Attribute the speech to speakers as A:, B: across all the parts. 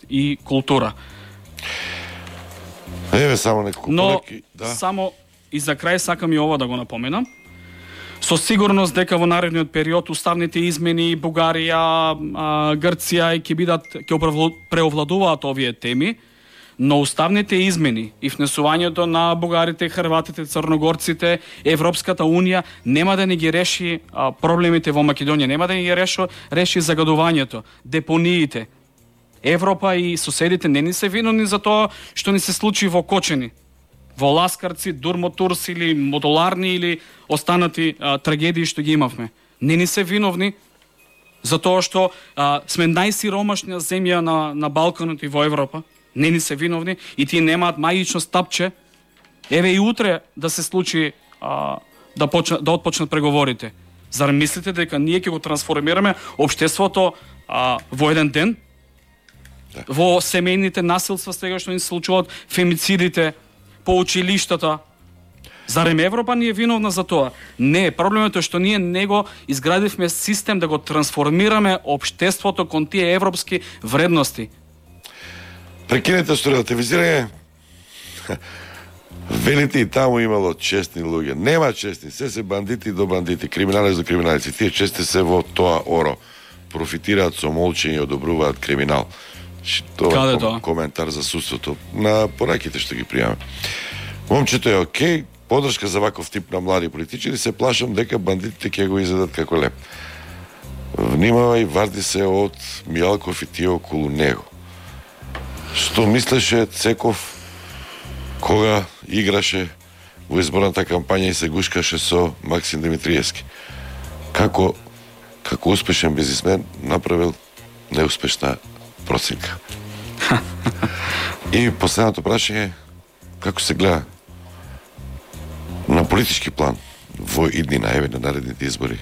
A: и култура.
B: Еве само неколку
A: полеки, само и за крај сакам и ова да го напоменам. Со сигурност дека во наредниот период уставните измени Бугарија, Грција ќе преовладуваат овие теми, но уставните измени и внесувањето на бугарите, хрватите, црногорците, Европската унија нема да ни ги реши проблемите во Македонија, нема да ни ги реши загадувањето, депониите. Европа и соседите не ни се виновни за тоа што ни се случи во Кочени, во Ласкарци, Дурмотурс или Модуларни или останати трагедии што ги имавме. Не ни се виновни за тоа што сме најсиромашна земја на Балканот и во Европа. Не ни се виновни и тие немаат магично стапче. Еве и утре да се случи да отпочнат преговорите. Зар мислите дека ние ќе го трансформираме општеството во еден ден? Во семејните насилства сега што ни се случуваат, фемицидите по училиштата. Зарем Европа ни е виновна за тоа? Не, проблемот е што ние не го изградивме систем да го трансформираме општеството кон тие европски вредности.
B: Прекинете со релативизирање. Велите и таму имало честни луѓе. Нема честни, се бандити до бандити, криминалици до криминалици. Тие чести се во тоа оро. Профитираат со молчење и одобруваат криминал.
A: Каде тоа?
B: Коментар за судството на пораките што ги пријаме. Момчето е окей, подршка за ваков тип на млади политичари, се плашам дека бандитите ќе го изедат како леп. Внимавај, варди се од Мијалков и тие околу него. Што мислеше Цеков кога играше во изборната кампања и се гушкаше со Максим Димитриевски? Како успешен бизнисмен направил неуспешна проценка. И последното прашање, како се гледа на политички план во иднина, еве на наредните избори,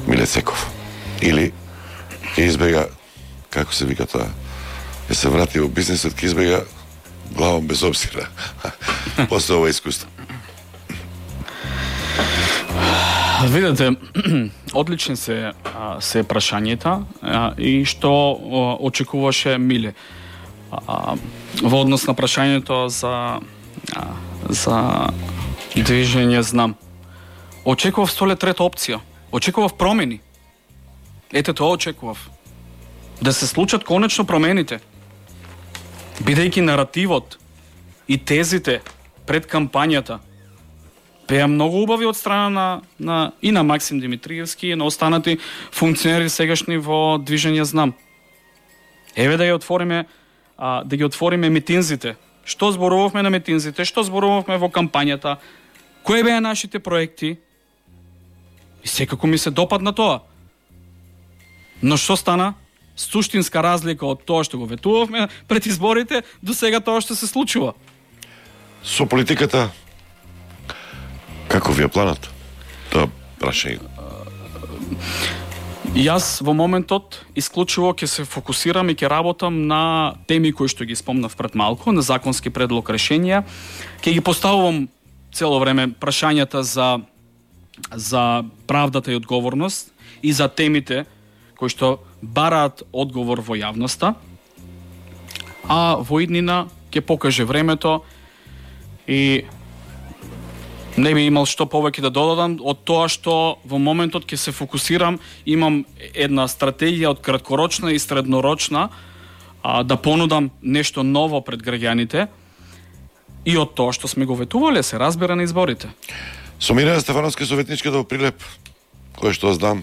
B: Миле Цеков? Или ќе избега, како се вика тоа, ќе се врати во бизнисот, ќе избега главом без обзира после ова искуство?
A: Видете, одлични се прашањата и што очекуваше Миле. Во однос на прашањето за движење знам. Очекував столе трета опција. Очекував промени. Ете тоа очекував. Да се случат конечно промените. Бидејќи наративот и тезите пред кампањата беа многу убави од страна и на Максим Димитриевски и на останати функционери сегашни во движење знам. Еве да ги отвориме митинзите. Што зборувавме на митинзите, што зборувавме во кампањата, кои беа нашите проекти. И секако ми се допадна тоа. Но што стана? Суштинска разлика од тоа што го ветувавме пред изборите до сега тоа што се случува.
B: Со политиката како ви е планот? Тоа прашање.
A: Јас во моментот исклучиво ќе се фокусирам и ќе работам на теми кои што ги спомнав пред малку, на законски предлог решенија. Ќе ги поставувам цело време прашањата за правдата и одговорност и за темите кои што бараат одговор во јавноста. А во иднина ќе покаже времето и не би имал што повеќе да додадам од тоа што во моментот ќе се фокусирам, имам една стратегија од краткорочна и среднорочна да понудам нешто ново пред граѓаните и од тоа што сме го ветувале, се разбира на изборите.
B: Со Мирена Стефановска советничката во Прилеп, кој што знам,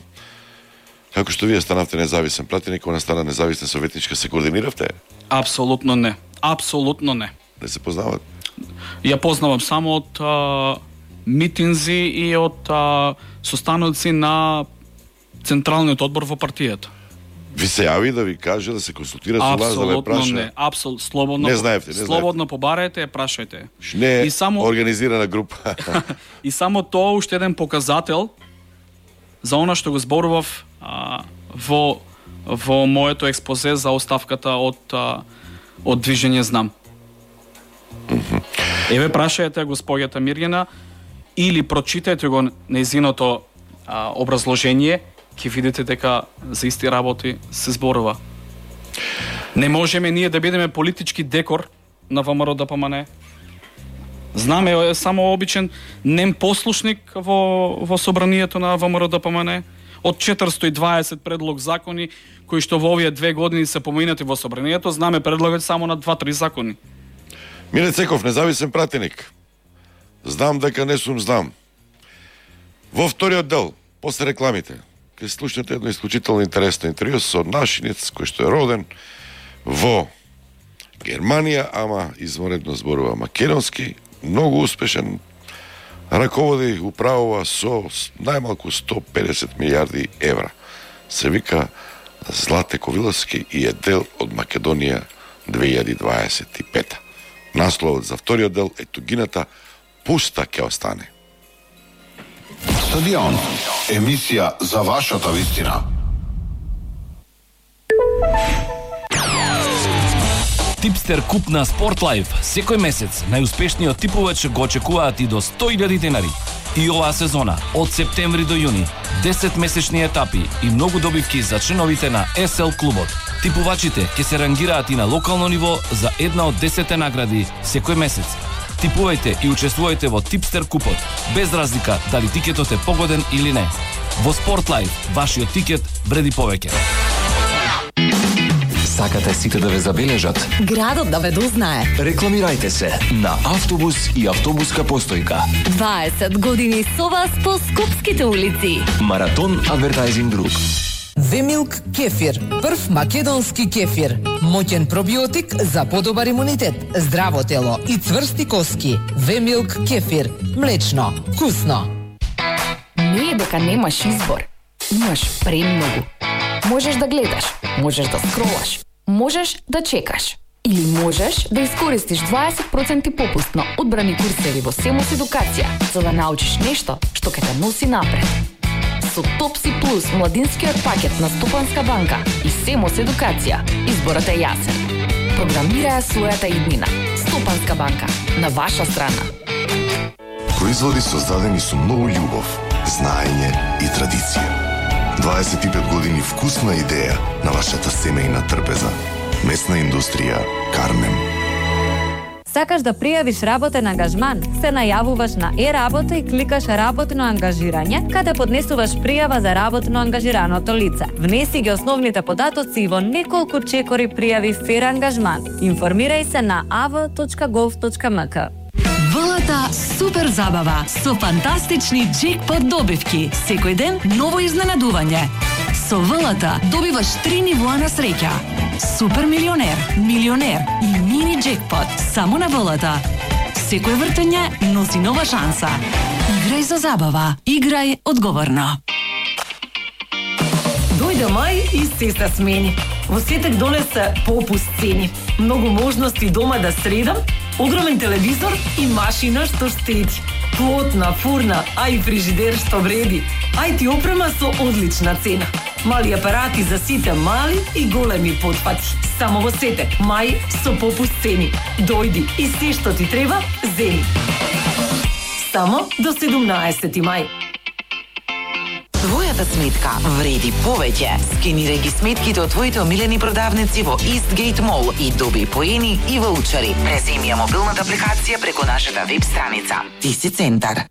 B: како што вие станавте независен пратеник, кога стана независна советничка, се координиравте?
A: Апсолутно не. Апсолутно не.
B: Не се познават?
A: Ја познавам само од митинзи и од состаноци на Централниот одбор во партијата.
B: Ви се јави да ви каже, да се консултира со вас, да ве праша?
A: Апсолутно не.
B: Не знаевте,
A: слободно побарајте, прашајте.
B: Не организирана група.
A: И само тоа уште еден показател за она што го зборував во моето експозе за оставката од движење знам. Еве прашајте госпоѓата Мирјана или прочитајте го нејзиното образложение, ќе видите дека за исти работи се зборува. Не можеме ние да бидеме политички декор на ВМРО ДПМН. Знаме, е само обичен нем послушник во собранието на ВМРО ДПМН. Од 420 предлог закони кои што во овие 2 години се поминати во собранието, знаме предлагат само на 2-3 закони.
B: Миле Цеков, независен пратеник. Знам дека не сум знам. Во вториот дел, после рекламите, ќе слушнете едно исклучително интересно интервју со нашинец кој што е роден во Германија, ама изворедно зборува македонски, многу успешен, раководи управува со најмалку 150 милиарди евра. Се вика Злате Ковиловски и е дел од Македонија 2025. Насловот за вториот дел е тугината пуста ќе остане.
C: Стадион, емисија за вашата вистина.
D: Типстер куп на Спортлайф. Секој месец најуспешниот типовач го очекуваат и до 100.000 денари. И оваа сезона, од септември до јуни, 10 месечни етапи и многу добивки за членовите на SL клубот. Типувачите ќе се рангираат и на локално ниво за една од 10 награди секој месец. Типувајте и учествувајте во Типстер купот, без разлика дали тикетот е погоден или не. Во Спортлайф, вашиот тикет вреди повеќе.
E: Сакате сите да ве забележат?
F: Градот да ве дознае.
E: Рекламирајте се на автобус и автобуска постојка.
F: 20 години со вас по скопските улици.
E: Маратон Advertising Group.
G: Вемилк кефир, прв македонски кефир. Моќен пробиотик за подобар имунитет, здраво тело и цврсти коски. Вемилк кефир, млечно, вкусно.
H: Не е дека немаш избор. Имаш премногу. Можеш да гледаш, можеш да скролаш, можеш да чекаш. Или можеш да искористиш 20% попуст на одбрани курсеви во Семос Едукација, за да научиш нешто што ќе те носи напред. Со Топси Плюс, младинскиот пакет на Стопанска банка и Семос Едукација, изборот е јасен. Програмирај својата иднина. Стопанска банка, на ваша страна.
C: Производи создадени со многу љубов, знаење и традиција. 25 години вкусна идеја на вашата семејна трпеза. Месна индустрија Кармем.
I: Сакаш да пријавиш работен ангажман? Се најавуваш на Е-работа и кликаш работно ангажирање, каде поднесуваш пријава за работно ангажираното лице. Внеси ги основните податоци и во неколку чекори пријави фер ангажман. Информирај се на av.gov.mk.
F: ВЛТ супер забава со фантастични джекпот добивки. Секој ден ново изненадување. Со ВЛТ добиваш 3 нивоа на среќа. Супер милионер, милионер и мини джекпот само на ВЛТ. Секој вртење носи нова шанса. Играј за забава. Играј одговорно.
G: Дојде мај и се смени. Во сетек донесе попуст цени. Многу можности дома да средам, огромен телевизор и машина што штеди. Плотна, фурна, а и фрижидер што вреди. IT опрема со одлична цена. Мали апарати за сите мали и големи потпати. Само во сетек, мај со попуст цени. Дојди и се што ти треба, земи. Само до 17 мај.
J: Твојата сметка вреди повеќе. Скенирај ги сметките од твоите омилени продавници во Eastgate Mall и доби поени и ваучери. Преземи ја мобилната апликација преку нашата веб страница. Ти си центар.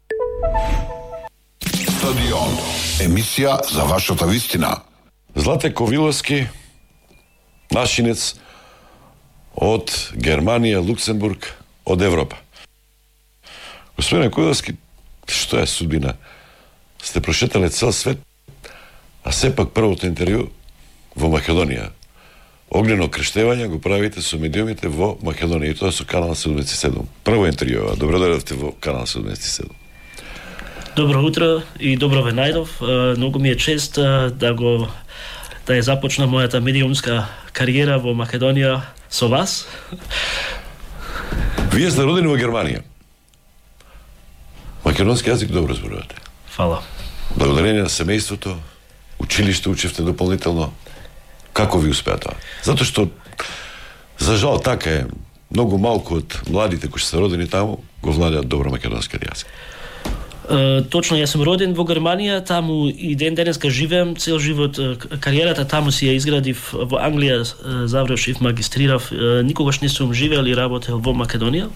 C: Стадион, емисија за вашата вистина.
B: Злате Ковиловски, нашинец од Германија, Луксембург, од Европа. Господине Ковиловски, што е судбина? Сте прошетале цел свет, а сепак првото интервју во Македонија. Огнено крештевање го правите со медиумите во Македонија и тоа со Канал 77. Прво интервју, добро дојдовте во Канал 77.
K: Добро утро и добро ве најдов. Многу ми е чест да ја започна мојата медиумска кариера во Македонија со вас.
B: Вие сте родени во Германија. Македонски јазик добро зборувате.
K: Фала.
B: Благодарение на семејството, училиште учевте дополнително. Како ви успеа тоа? Затоа што, за жал, така е, многу малку од младите кои се родени таму го владеат добро македонскиот јазик.
K: Точно, јас сум роден во Германија, таму и ден денеска живеам, цел живот кариерата таму си ја изградив. Во Англија завршив, магистрирав, никогаш не сум живеел и работел во Македонија.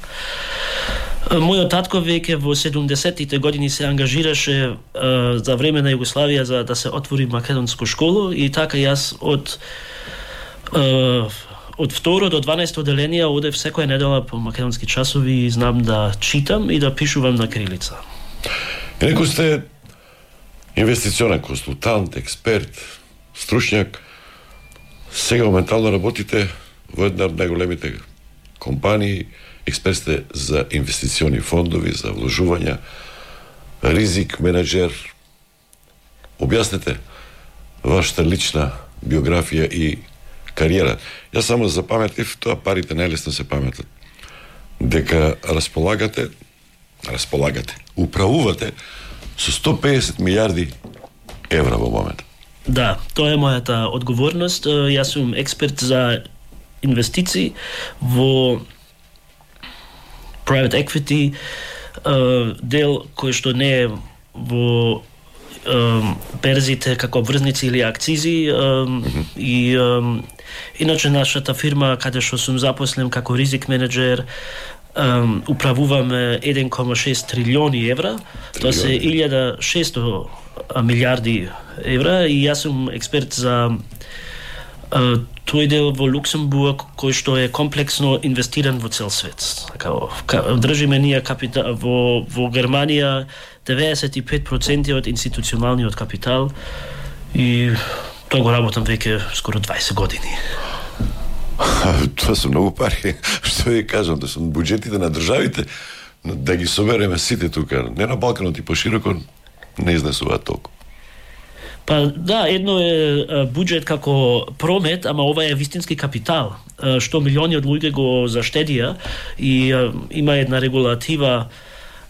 K: Мојот татко веќе во 70-тите години се ангажираше за време на Југославија за да се отвори македонско школо и така јас од второ до 12 оделенија одев секоја недела по македонски часови и знам да читам и да пишувам на кирилица.
B: Некој сте инвестиционен консултант, експерт, стручњак. Сега моментално работите во една од најголемите компании, експерт сте за инвестициони фондови, за вложувања, ризик менеджер. Објаснете вашата лична биографија и кариера. Јас само запаметив, тоа парите најлесно се паметат. Дека располагате, управувате со 150 милиарди евра во момент.
K: Да, тоа е мојата одговорност. Јас сум експерт за инвестиции во private equity, дел кој што не е во берзите како врзници или акцизи и иначе нашата фирма каде што сум запослен како ризик менеджер управуваме 1,6 трилиони евра, тоа се 1600 милиарди евра и јас сум експерт за тој дел во Луксембург кој што е комплексно инвестиран во цел свет. Така држиме ние капитал во Германија 95% од институционалниот капитал и тоа го работам веќе скоро 20 години.
B: Тоа се многу пари. Што ви кажам, да сум буџетите на државите, да ги собереме сите тука, не на Балканот и пошироко, не изнесуваат толку.
K: Па да, едно е буџет како промет, ама ова е вистински капитал, што милиони од луѓе го заштедија и има една регулатива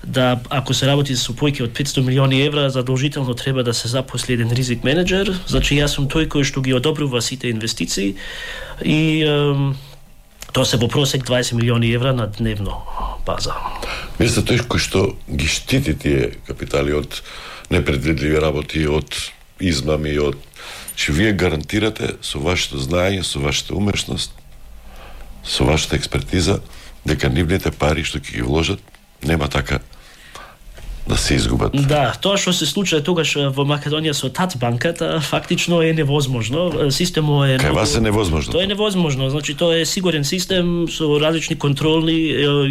K: да ако се работи со појки од 500 милиони евра, задолжително треба да се запосли еден ризик менеджер. Значи јас сум тој кој што ги одобрува сите инвестиции и тоа се во просек 20 милиони евра на дневно база.
B: Вие сте тој кој што ги штити тие капитали од непредвидливи работи, од измами, од че вие гарантирате со вашето знаење, со вашата умешност, со вашата експертиза дека нивните пари што ќе ги вложат нема така да се изгубат.
K: Да, тоа што се случува тогаш во Македонија со ТАЦ банката фактично е невозможно. Системот е
B: Кај вас е невозможно.
K: Тоа е невозможно. Значи тоа е сигурен систем со различни контролни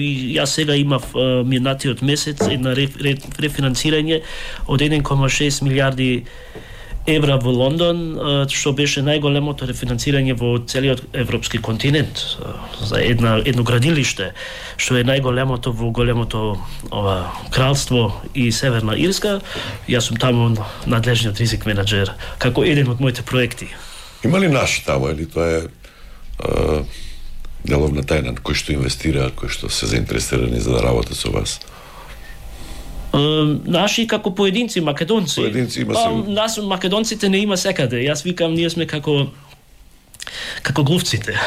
K: и јас сега имав минатиот месец една рефинансирање од 1,6 милиарди евра во Лондон, што беше најголемото рефинансирање во целиот европски континент за едно градилиште, што е најголемото во големото кралство и Северна Ирска. Јас сум таму надлежниот ризик менеджер, како еден од моите проекти.
B: Има ли наши таму, или тоа е деловна тајна, кои што инвестираат, кои што се заинтересирани за да работат со вас?
K: Наши како поединци македонци.
B: Поединци има се.
K: Нас македонците не има секаде. Јас викам ние сме како глувците.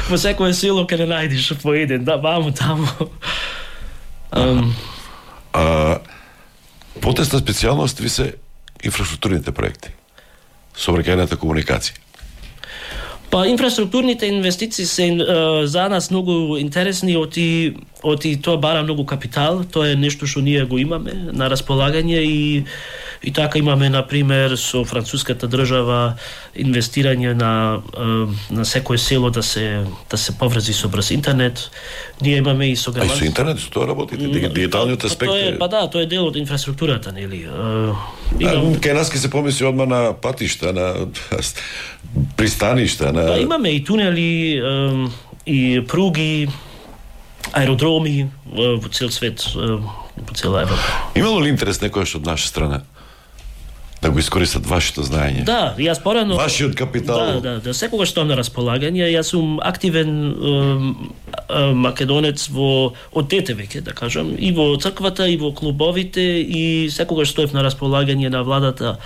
K: Во секое село ке не најдеш по еден, да, ваму таму.
B: Потесна специјалност ви се инфраструктурните проекти, сообраќајната комуникација.
K: Па инфраструктурните инвестиции се за нас многу интересни, оти тоа бара многу капитал, тоа е нешто што ние го имаме на располагање и така имаме на пример со француската држава инвестирање на секое село да се поврзи со брз интернет. Ние имаме и со
B: германски. Со интернет со тоа работите, дигиталниот аспект.
K: Тоа е дел од инфраструктурата, нели?
B: Кај нас ке се помисли одма на патишта, на пристаништа, на
K: Па имаме и тунели, и пруги, аеродроми во цел свет, во цела Европа.
B: Имало ли интерес некојаш од наша страна да го искористат вашето знаење?
K: Да, јас порано
B: вашиот капитал.
K: Да, секогаш тоа на располагање. Јас сум активен македонец од дете веќе, да кажам, и во црквата, и во клубовите, и секогаш стоев на располагање на владата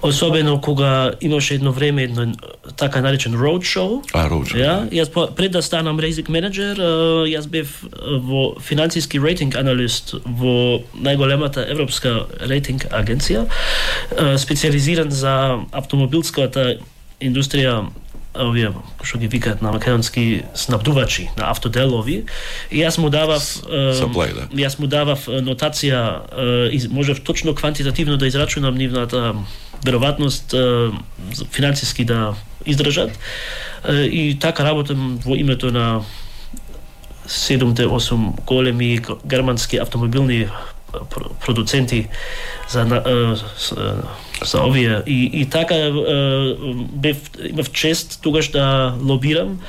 K: Особено кога имаше едно време едно така наречен roadshow.
B: Roadshow.
K: Ја, јас пред да станам ризик менеджер, јас бев во финансиски рейтинг аналист во најголемата европска рейтинг агенција, специализиран за автомобилската индустрија, овие што ги викаат на македонски снабдувачи на автоделови, и јас му давав јас му давав нотација и можев точно квантитативно да израчунам нивната веројатност финансиски да издржат, и така работам во името на 7-8 големи германски автомобилни продуценти за овие, и така имав чест тогаш да лобирам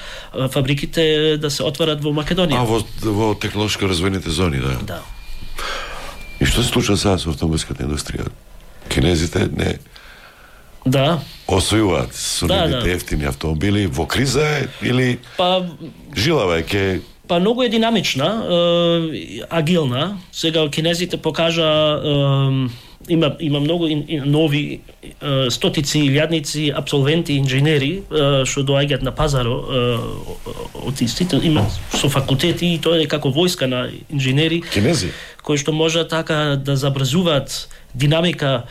K: фабриките да се отварат во Македонија.
B: Во технолошко развојните зони, да.
K: Да.
B: И што се случува сега со автомобилската индустрија? Кинезите не освојуваат со нивните ефтини автомобили, во криза е или жилава е ке...
K: Многу е динамична, агилна. Сега кинезите покажа има многу нови стотици илјадници абсолвенти инженери што доаѓаат на пазаро од истите, има со факултети, и тоа е како војска на инженери
B: кинези
K: кои што може така да забрзуваат динамика.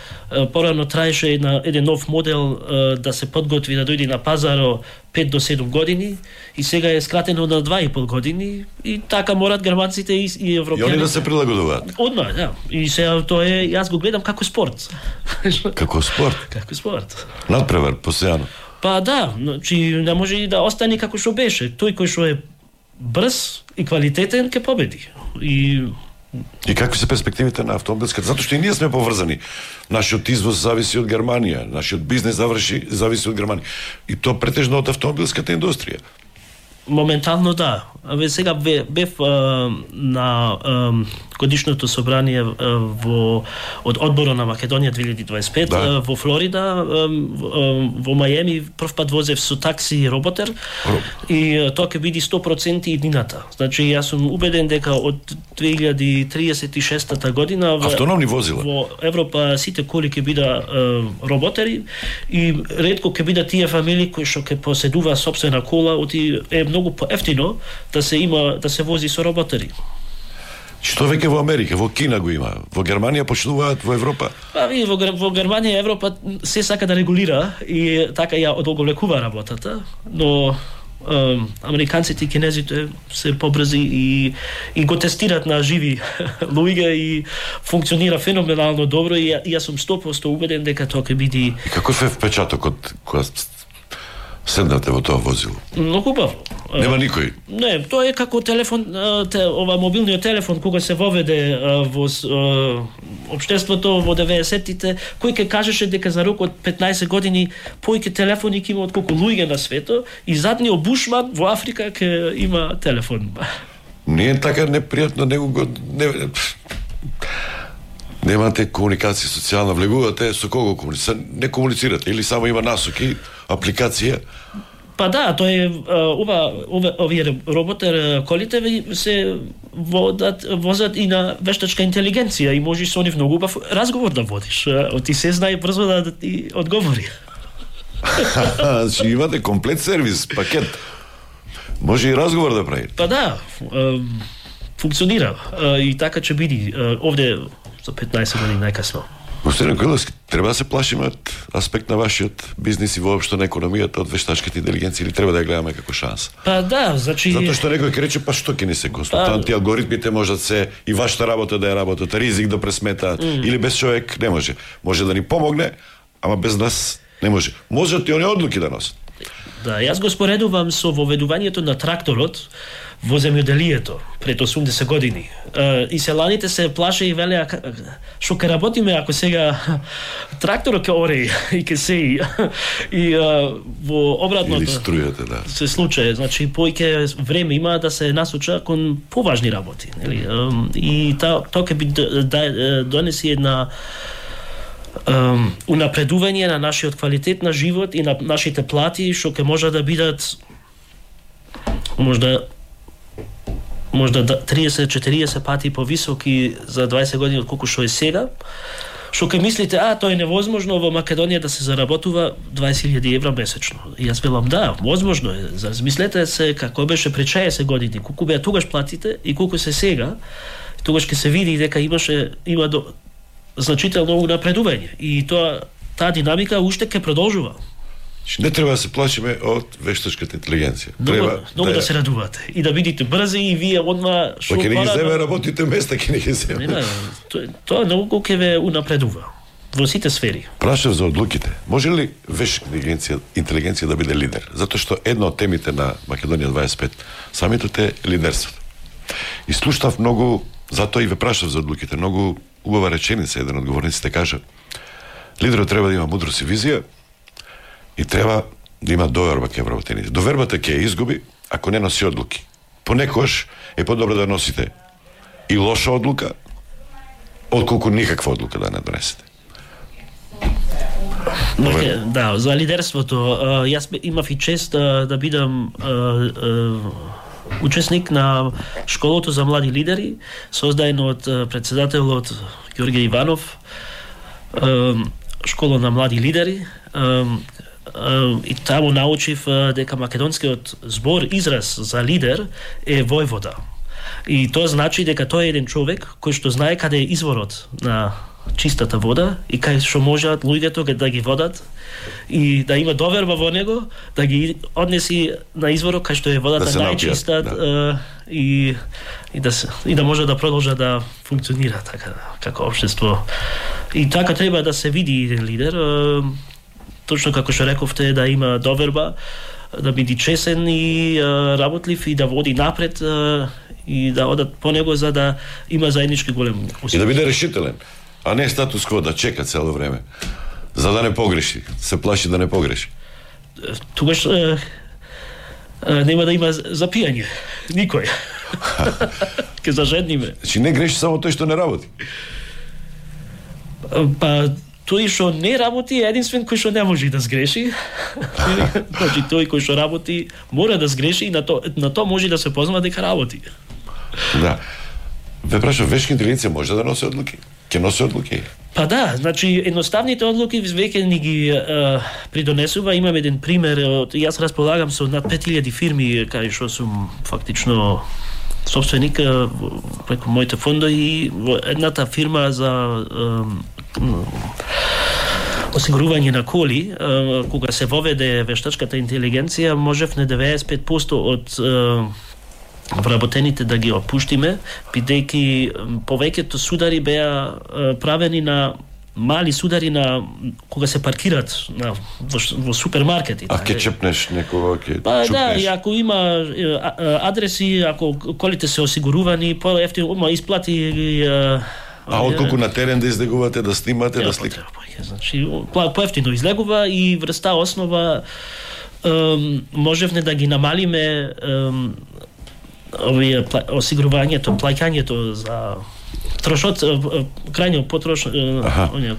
K: Порано траеше еден нов модел да се подготви да дојде на пазаро 5 до 7 години, и сега е скратено на 2,5 години, и така морат германците и европјаните.
B: И они да се прилагодуваат.
K: Одма, да. И сега тоа е, јас го гледам како спорт.
B: Како спорт?
K: Како спорт.
B: Надпревар, постојано.
K: Да, значи не може да остане како што беше. Тој кој што е брз и квалитетен ќе победи.
B: И какви се перспективите на автомобилската? Затоа што и ние сме поврзани. Нашиот извоз зависи од Германија, нашиот бизнес зависи од Германија. И тоа претежно од автомобилската индустрија.
K: Моментално да. Сега бев на годишното собрание од одборот на Македонија 2025 во Флорида, во Мајами. Прв пат возев со такси роботер, и тоа ќе биде 100% иднината. Значи јас сум убеден дека од 2036 година
B: автономни возила
K: во Европа сите коли ќе бидат роботери, и ретко ќе бидат тие фамилии кои што ќе поседува сопствена кола, е многу поевтино да се вози со роботери.
B: Што веќе во Америка, во Кина го има, во Германија почнуваат, во Европа?
K: Во Германија Европа се сака да регулира, и така ја одолговлекува работата, но американците и кинезите се побрзи и го тестираат на живи луѓе, и функционира феноменално добро, и јас сум 100% убеден дека тоа ќе биде.
B: И каков е впечатокот кога седнате во тоа возило?
K: Многу убаво.
B: Нема никој?
K: Не, тоа е како телефон, ова мобилниот телефон кога се воведе во општеството во 90-тите, кој ќе кажеше дека за рок од 15 години поиќе телефони ќе има од колку луѓе на свето, и задниот бушман во Африка ќе има телефон.
B: Не е така непријатно, немате комуникација социјална, влегувате со кого комуницирате? Не комуницирате или само има насоки, апликација?
K: Да, тоа е овие роботер колите се возат и на вештачка интелигенција, и можеш со нив многу убав разговор да водиш. Ти се знае брзо да ти одговори.
B: Значи имате комплет сервис, пакет. Може и разговор да прави.
K: Да, функционира, и така ќе биде овде за 15 години најкасно.
B: Господин Којлевски, треба да се плашиме од аспект на вашиот бизнис и воопшто на економијата од вештачката интелигенција, или треба да ја гледаме како шанса?
K: Да, значи...
B: Затоа што некој ќе рече, што ќе ни се консултанти, алгоритмите можат се, и вашата работа да ја работат, ризик да пресметаат, или без човек не може. Може да ни помогне, ама без нас не може. Можат и оние одлуки да носат.
K: Да, јас го споредувам со воведувањето на тракторот во земјоделието пред 80 години. И селаните се плаше и велеа, што ќе работиме ако сега тракторот ќе ори и ќе сеи. И во обратното
B: или струјата, да.
K: Се случае, значи поиќе време има да се насоча кон поважни работи, нели? И тоа ќе би донеси една унапредување на нашиот квалитет на живот и на нашите плати, што ќе може да бидат можда 30-40 пати повисоки за 20 години од колку што е сега. Што ке мислите, тоа е невозможно во Македонија да се заработува 20.000 евра месечно. И јас велам, да, возможно е. Замислете се како беше пред 60 години, колку беа тогаш платите и колку се сега. Тогаш ќе се види дека има значително напредување. И таа динамика уште ќе продолжува.
B: Не треба да се плашиме од вештачката интелигенција.
K: Много да се радувате и да бидите брзи и вие одма
B: што ќе не ги земе работите места, ќе не ги земе.
K: Тоа многу ќе ве унапредува во сите сфери.
B: Прашав за одлуките. Може ли вештачка интелигенција да биде лидер? Затоа што една од темите на Македонија 25 самитот е лидерството. И слушнав многу, затоа и ве прашав за одлуките, многу убава реченица, еден од говорниците кажа: лидерот треба да има мудрост и визија, и треба да има доверба кај вработените. Довербата ќе ја изгуби ако не носи одлуки. Понекогаш е подобро да носите и лоша одлука, отколку никаква одлука да не донесете.
K: Да, за лидерството, јас имав и чест да бидам учесник на школото за млади лидери, создадено од председателот Ѓорѓе Иванов, школа на млади лидери, и таму научив дека македонскиот збор, израз за лидер е војвода. И тоа значи дека тој е еден човек кој што знае каде е изворот на чистата вода и кај што можат луѓето да ги водат и да има доверба во него, да ги однеси на изворот кај што е водата најчиста, и да може да продолжа да функционира така како општество. И така треба да се види еден лидер, точно како што рековте, да има доверба, да биде чесен и работлив и да води напред и да одат по него за да има заеднички голем успех.
B: И да биде решителен, а не статус кво да чека цело време, за да не погреши, се плаши да не погреши.
K: Тогаш нема да има запијање, никој. Ке зажедниме.
B: Значи не греши само тој што не работи.
K: Па тој што не работи е единствен кој што не може да сгреши. Значи тој кој што работи мора да сгреши и на тоа може да се позна дека работи.
B: Да. Ве прашав, вештачка интелигенција може да носи одлуки? Ќе носи одлуки?
K: Па да, значи едноставните одлуки веќе ни ги придонесува. Имам еден пример, јас располагам со над 5000 фирми кај што сум фактично собственик преку моите фондови и во едната фирма за осигурување на коли, кога се воведе вештачката интелигенција, можевме 95% од вработените да ги опуштиме, бидејќи повеќето судари беа правени на мали судари на кога се паркират во супермаркети.
B: А ќе чепнеш некого, ќе
K: чупнеш?
B: Па
K: да, и ако има адреси, ако колите се осигурувани, по-ефтино исплати.
B: А отколку на терен да излегувате, да снимате, да сликате?
K: Значи, по-ефтино излегува и врз таа основа можевме да ги намалиме осигурувањето, плаќањето за трошот, крајно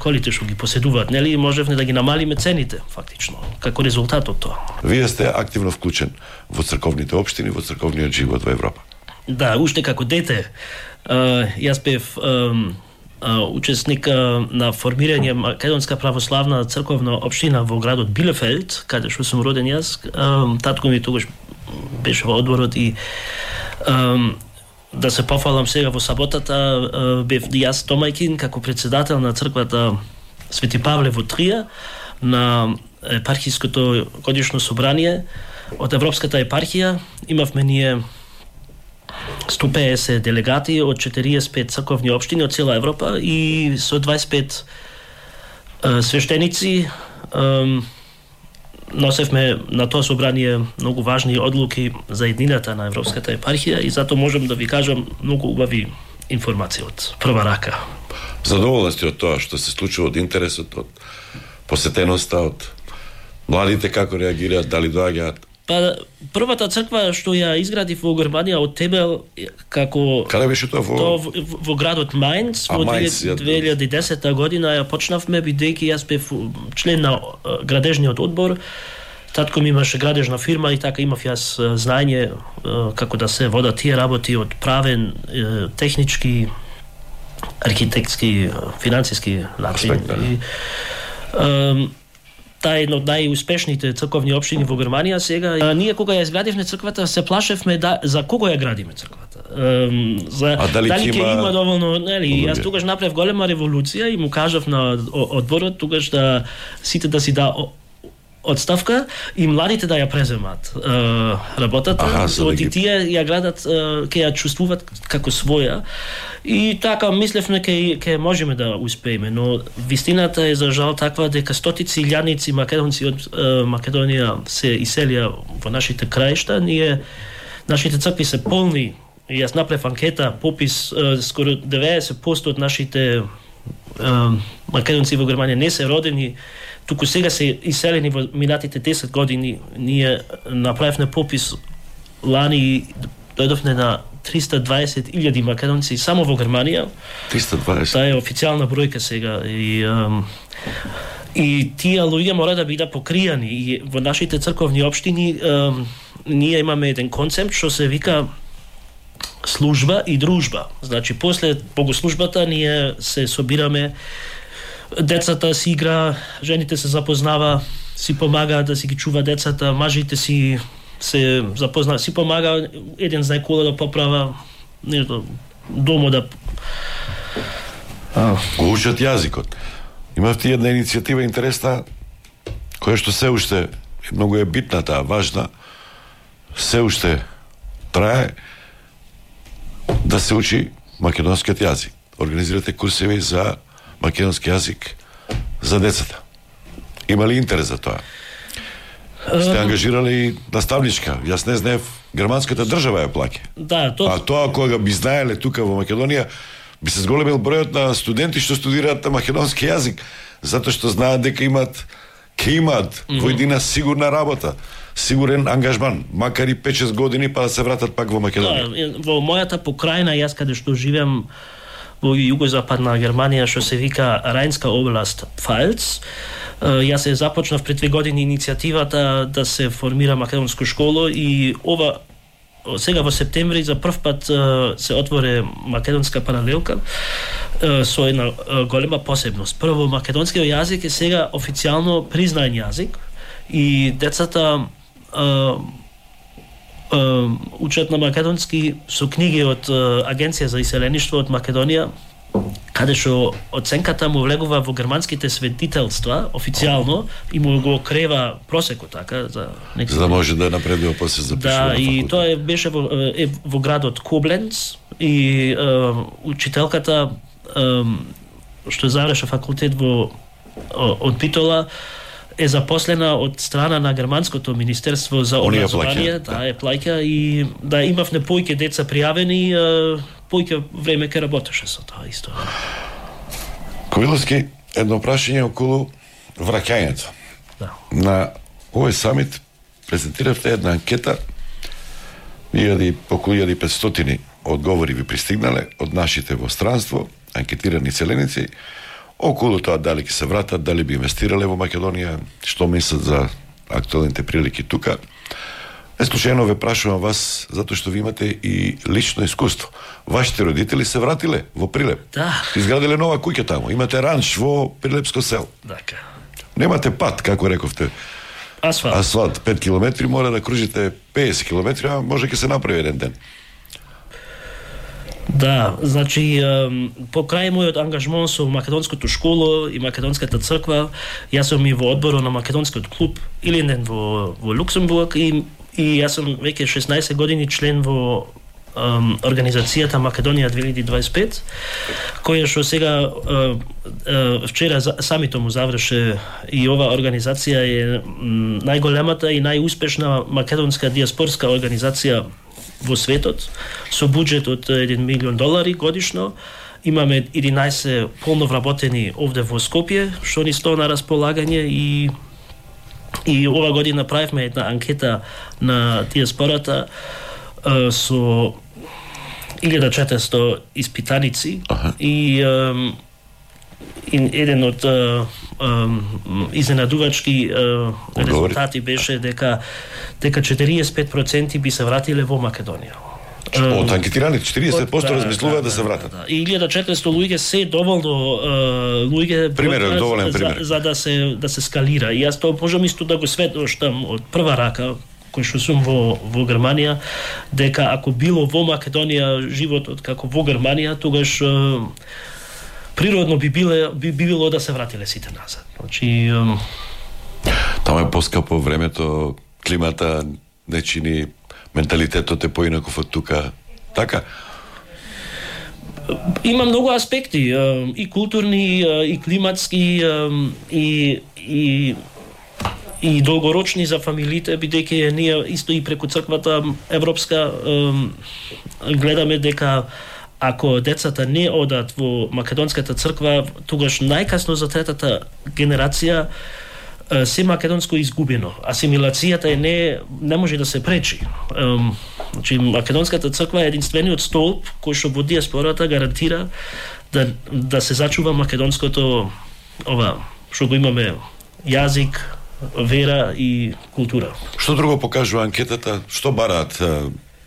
K: колите што ги поседуваат, нели, можевме да ги намалиме цените, фактично, како резултат од тоа.
B: Вие сте активно вклучен во црковните општини, во црковниот живот во Европа.
K: Да, уште како дете, јас бев учесник на формирање Македонска православна црковна општина во градот Билефелд, каде што сум роден јас. Татко ми тогаш беше во одборот и да се пофалам сега во саботата, бев јас домаќин како председател на црквата Свети Павле во Трија на епархиското годишно собрание од Европската епархија. Имавме ние 150 делегати од 45 црковни општини од цела Европа и со 25 свештеници носевме на тоа собрание многу важни одлуки за еднината на Европската епархија и затоа можам да ви кажам многу убави информации од прва рака.
B: Задоволен сте од тоа што се случува, од интересот, од посетеноста, од младите како реагираат, дали доаѓаат?
K: Па првата црква што ја изградив во Германија од Тебел како
B: Каде беше тоа
K: во градот Мајнц во 2010 година ја почнавме бидејќи јас бев член на градежниот одбор. Татко ми имаше градежна фирма и така имав јас знаење како да се водат тие работи од правен, технички, архитектски, финансиски начин. Таа е една од најуспешните црковни општини во Германија сега. Ние кога ја изградивме црквата се плашевме за кого ја градиме црквата. Дали ќе има доволно, нели? Јас тогаш направив голема револуција и му кажав на одборот тогаш да сите да си да одставка и младите да ја преземат работата, и тие ја градат, ќе ја чувствуваат како своја. И така мислевме ќе можеме да успееме, но вистината е за жал таква дека стотици илјадници македонци од Македонија се иселија во нашите краишта. Нашите цркви се полни. Јас направив анкета, попис, скоро 90% од нашите македонци во Германија не се родени, туку сега се иселени во минатите 10 години. Ние направивме попис лани и дојдовме на 320.000 македонци само во Германија.
B: 320.
K: Таа е официјална бројка сега и тие луѓе мора да бидат покријани. И во нашите црковни општини ние имаме еден концепт што се вика служба и дружба. Значи после богослужбата ние се собираме, децата си игра, жените се запознава, си помага да си ги чува децата, мажите си се запознава, си помага, еден знај кола да поправа, нешто домо да
B: го учат јазикот. Имавте една иницијатива интересна која што се уште многу е битна, таа важна, се уште трае, да се учи македонскиот јазик. Организирате курсеви за македонски јазик за децата. Има ли интерес за тоа? Сте ангажирали наставничка? Јас не знаев, германската држава ја плаќа.
K: Да, тоа.
B: А тоа кога би знаеле тука во Македонија, би се зголемил бројот на студенти што студираат на македонски јазик, затоа што знаат дека ќе имаат во едина сигурна работа, сигурен ангажман, макар и 5-6 години па да се вратат пак во Македонија.
K: Да, во мојата покрајна, јас каде што живеам во југозападна Германија, што се вика Рајнска област Пфалц, јас се започнав пред 2 години иницијативата да се формира македонско школо и сега во септември за прв пат се отвори македонска паралелка со една голема посебност. Прво, македонскиот јазик е сега официјално признаен јазик и децата учат на македонски со книги од Агенција за иселеништво од Македонија, каде што оценката му влегува во германските светителства официјално и му го крева просекот така за
B: да може да напредува после запишува.
K: Да, и тоа беше во градот Кобленц и учителката што заврши факултет од Битола е запослена од страна на германското министерство за образование, е плаќа и да имавме појќе деца пријавени, појќе време ке работеше со тоа исто.
B: Ковиловски, едно прашање околу враќањето.
K: Да.
B: На овој самит презентиравте една анкета, околу 1500 одговори ви пристигнале од нашите во странство, анкетирани селеници, околу тоа дали ќе се вратат, дали би инвестирале во Македонија, што мислат за актуелните прилики тука. Неслучајно ве прашувам вас, затоа што ви имате и лично искуство. Вашите родители се вратиле во Прилеп.
K: Да.
B: Изградиле нова куќа таму. Имате ранч во Прилепско село.
K: Така.
B: Немате пат, како рековте. Асфалт 5 километри, мора да кружите 50 километри, а може ќе се направи еден ден.
K: Да, значи, покрај мојот ангажмон со македонското школо и македонската црква, јас сум и во одборот на македонскиот клуб Илинден во Луксембург и јас сум веќе 16 години член во организацијата Македонија 2025, која што сега вчера самито му заврши и ова организација е најголемата и најуспешна македонска диаспорска организација во светот, со буџет од $1 милион годишно. Имаме 11 полно вработени овде во Скопје, што ни стои на располагање и ова година правивме една анкета на диаспората со 1400 испитаници и еден од изненадувачки резултати беше дека 45% би се вратиле во Македонија.
B: Од анкетираните 40% размислуваат да се вратат.
K: И 1400 луѓе се доволно луѓе
B: доволен пример
K: за да се скалира. И јас тоа можам исто да го сведочам од прва рака кој што сум во Германија, дека ако било во Македонија животот како во Германија, тогаш природно би било да се вратиле сите назад. Значи
B: таму е поскапо времето, климата не чини, менталитетот е поинаков од тука. Така?
K: Има многу аспекти, и културни, и климатски, и долгорочни за фамилите, бидејќи ние исто и преку црквата европска гледаме дека ако децата не одат во македонската црква, тогаш најкасно за третата генерација се македонско изгубено. Асимилацијата не може да се пречи. Значи македонската црква е единствениот столб кој што во диаспората гарантира да се зачува македонското што го имаме јазик, вера и култура.
B: Што друго покажува анкетата? Што бараат?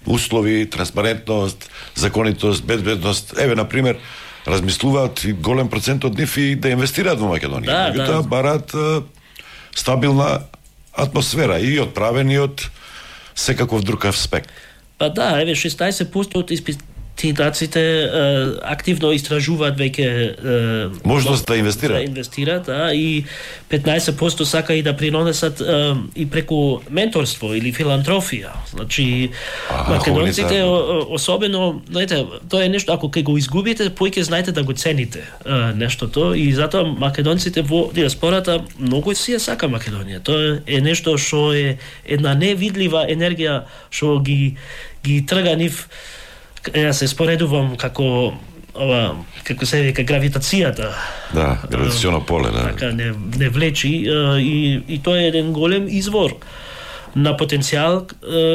B: Услови, транспарентност, законитост, безбедност. Еве, например, размислуваат и голем процент од нив и да инвестираат во Македонија. Да. Бараат стабилна атмосфера и од правен и од секаков друг аспект.
K: Па да, еве 16% од испитаците активно истражуваат веќе
B: можност да инвестираат.
K: Да инвестираат, и 15% сака и да принесат и преку менторство или филантрофија. Значи македонците особено, знаете, тоа е нешто ако ќе го изгубите, поќе знаете да го цените нештото и затоа македонците во диаспората многу си ја сака Македонија. Тоа е нешто што е една невидлива енергија што ги трга нив. Јас се споредувам како се вика гравитацијата.
B: Да, гравитационо поле, да.
K: Така не влечи и тоа е еден голем извор на потенцијал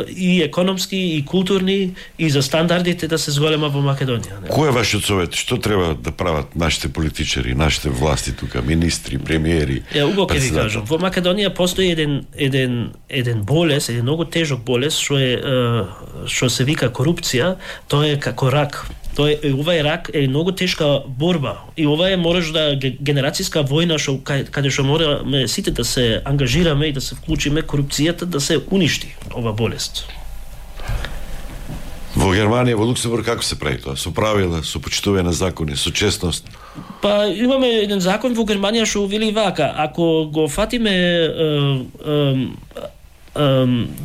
K: и економски и културни и за стандардите да се зголема во Македонија.
B: Кој е вашиот совет? Што треба да прават нашите политичари, нашите власти тука, министри, премиери?
K: Убаво ќе ви кажам. Во Македонија постои еден болест, еден многу тежок болест што се вика корупција. Тоа е како рак. Ова е рак, е многу тешка борба. И ова е мораш генерацијска војна каде што мораме сите да се ангажираме и да се вклучиме корупцијата да се уништи ова болест.
B: Во Германија, во Луксембург како се прави тоа? Со правила, со почитување на закони, со честност?
K: Па имаме еден закон во Германија што вели вака: ако го фатиме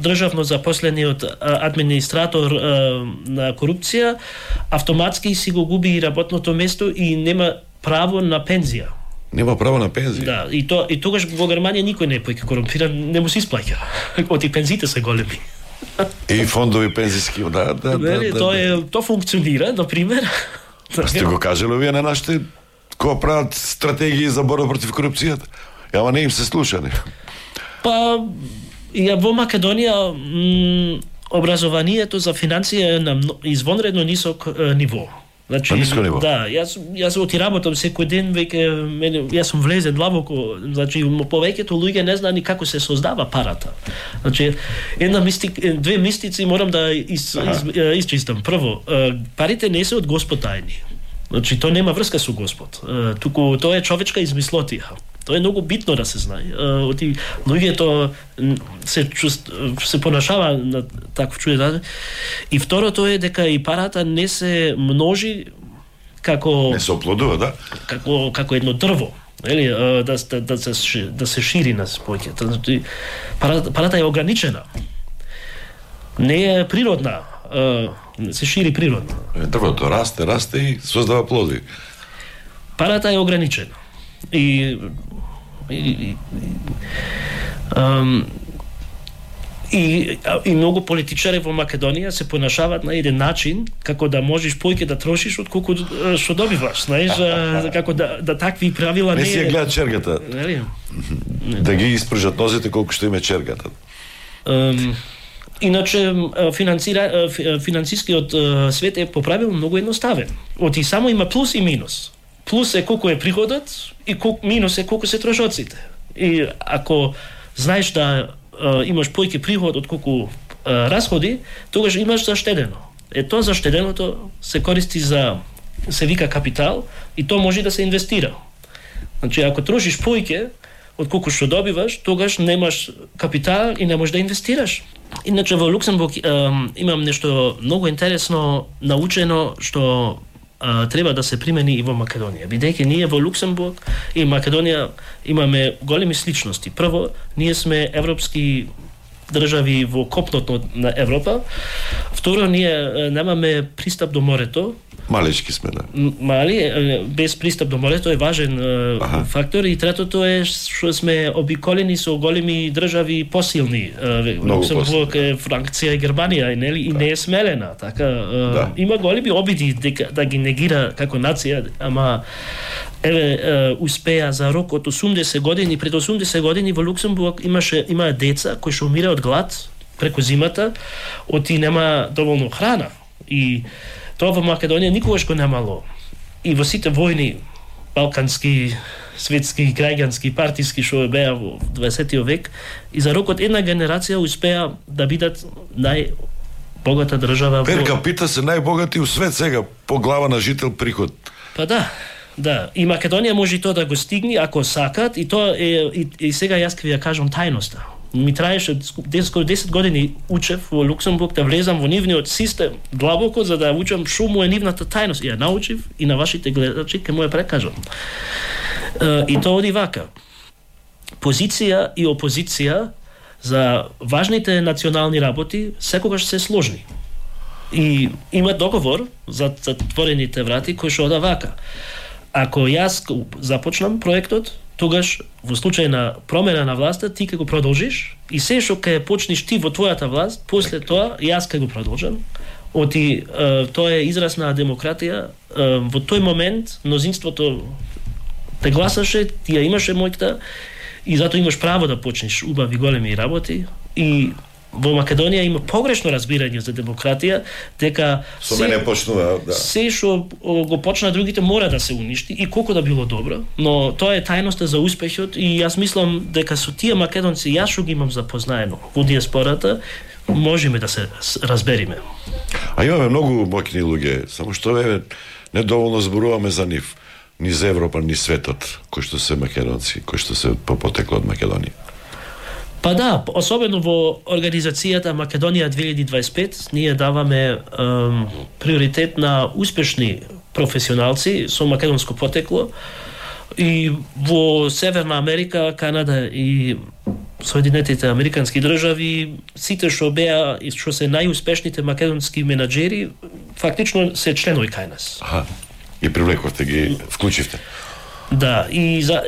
K: државно запослениот администратор на корупција, автоматски си го губи и работното место и нема право на пензија.
B: Нема право на пензија?
K: Да, и тогаш во Германија никој не е поќе корумпиран, не му се исплаќа. Оти пензиите се големи.
B: И фондови пензиски, да.
K: Тоа функционира, например.
B: Сте го кажале вие на нашите кои прават стратегии за борба против корупцијата? Ама не им се слуша, не?
K: Па во Македонија образованието за финансија е на извонредно нисок ниво.
B: Значи, ниско ниво.
K: Да, јас отиработам секој ден, јас сум влезен длабоко, значи повеќето луѓе не знаат ни како се создава парата. Значи две мистици морам да исчистам. Прво, парите не се од Господ тајни. Значи тоа нема врска со Господ. Туку тоа е човечка измислотија. Тоа е многу битно да се знае. Оти луѓето се понашава на таков чуден. И второто е дека и парата не се множи како
B: не се оплодува, да?
K: Како едно дрво, нели, да се шири на поќето. Значи парата е ограничена. Не е природна. Се шири природно.
B: Дрвото расте и создава плоди.
K: Парата е ограничена. И многу политичари во Македонија се понашаваат на еден начин како да можеш поќе да трошиш од колку што добиваш, знаеш, како да такви правила
B: не си гледат чергата. Да ги испржат нозите колку што има чергата.
K: Иначе финансискиот свет е по правило многу едноставен. Оти само има плюс и минус. Плюс е колку е приходот и минус е колку се трошоците. И ако знаеш да имаш поќе приход од колку расходи, тогаш имаш заштедено. Тоа заштеденото се користи се вика капитал и тоа може да се инвестира. Значи, ако трошиш повеќе од колку што добиваш, тогаш немаш капитал и не можеш да инвестираш. Иначе во Луксембург имам нешто многу интересно научено што треба да се примени и во Македонија. Бидејќи ние во Луксембург и Македонија имаме големи сличности. Прво, ние сме европски држави во копното на Европа. Второ, ние немаме пристап до морето.
B: Малечки сме, да.
K: Мали, без пристап до морето е важен фактор. И третото е што сме обиколени со големи држави посилни. Луксембург, Франција и Германија, нели? И не е смелена. Така, има големи обиди да ги негира како нација, ама успеа за рок од 80 години. Пред 80 години во Луксембург има деца кои што умира од глад преку зимата, оти нема доволно храна. И тоа во Македонија никогаш го немало. И во сите војни, балкански, светски, граѓански, партиски, што беа во 20 век, и за рок од една генерација успеа да бидат најбогата држава.
B: Пер капита се најбогати у свет сега, по глава на жител приход.
K: Па да. И Македонија може тоа да го стигне ако сакат, и тоа е и сега јас ќе ви ја кажам тајноста. Ми траеше скоро 10 години учев во Луксембург да влезам во нивниот систем длабоко за да учам што му е нивната тајност. Ја научив и на вашите гледачи ќе му ја прекажам. И тоа оди вака. Позиција и опозиција за важните национални работи секогаш се сложни. И има договор за затворените врати кој што ода вака. Ако јас започнам проектот, тогаш во случај на промена на власта ти ќе го продолжиш и се што ќе почнеш ти во твојата власт, после тоа јас ќе го продолжам. Оти тоа е израз на демократија. Во тој момент мнозинството те гласаше, ти ја имаше моќта и затоа имаш право да почнеш убави големи работи. И во Македонија има погрешно разбирање за демократија, дека
B: со мене почнува, да.
K: Се што го почна другите мора да се уништи и колку да било добро, но тоа е тајноста за успехот и јас мислам дека со тие македонци јас што ги имам запознаено во диаспората, можеме да се разбериме.
B: А имаме многу моќни луѓе, само што недоволно зборуваме за нив, ни за Европа, ни светот, кои што се македонци, кои што се по потекло од Македонија.
K: Па да, особено во организацијата Македонија 2025, ние даваме приоритет на успешни професионалци со македонско потекло и во Северна Америка, Канада и Соединетите Американски држави, сите што беа и што се најуспешните македонски менаџери, фактично се членови кај нас.
B: Аха, и привлековте ги, вклучивте.
K: Да, и за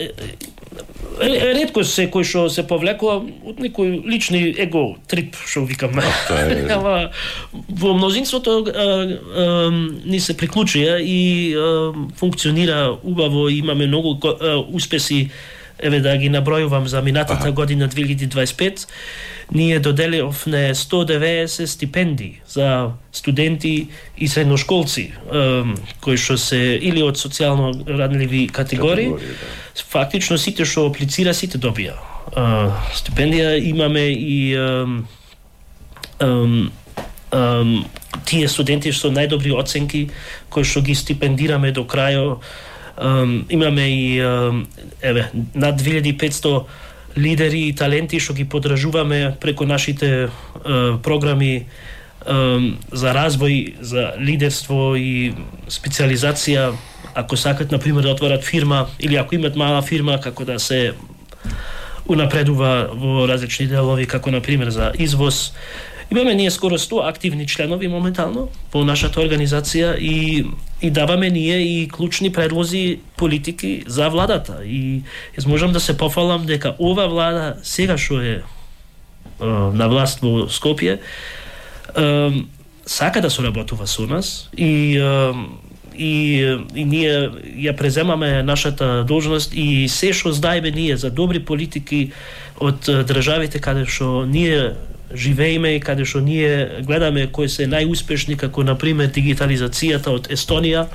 K: ретко се кој што се повлекува од некој лични его трип, што викам. Ама во мнозинството ни се приклучија и функционира убаво, имаме многу успеси. Еве да ги набројувам за минатата година 2025, ние доделивме 190 стипендии за студенти и средношколци кои што се или од социјално радливи категории. Фактично сите што аплицира, сите добија стипендија. Имаме и тие студенти со најдобри оценки кои што ги стипендираме до крајот. Имаме и над 2500 лидери и таленти што ги поддржуваме преку нашите програми за развој, за лидерство и специализација. Ако сакат, например, да отворат фирма или ако имат мала фирма, како да се унапредува во различни делови, како например за извоз. Имаме ние скоро 100 активни членови моментално во нашата организација и даваме ние и клучни предлози, политики за владата. И јас можам да се пофалам дека ова влада сега што е на власт во Скопје сака да соработува со нас и ние ја преземаме нашата должност и се што знаеме ние за добри политики од државите каде што ние живееме и каде што ние гледаме кои се најуспешни, како например дигитализацијата од Естонија,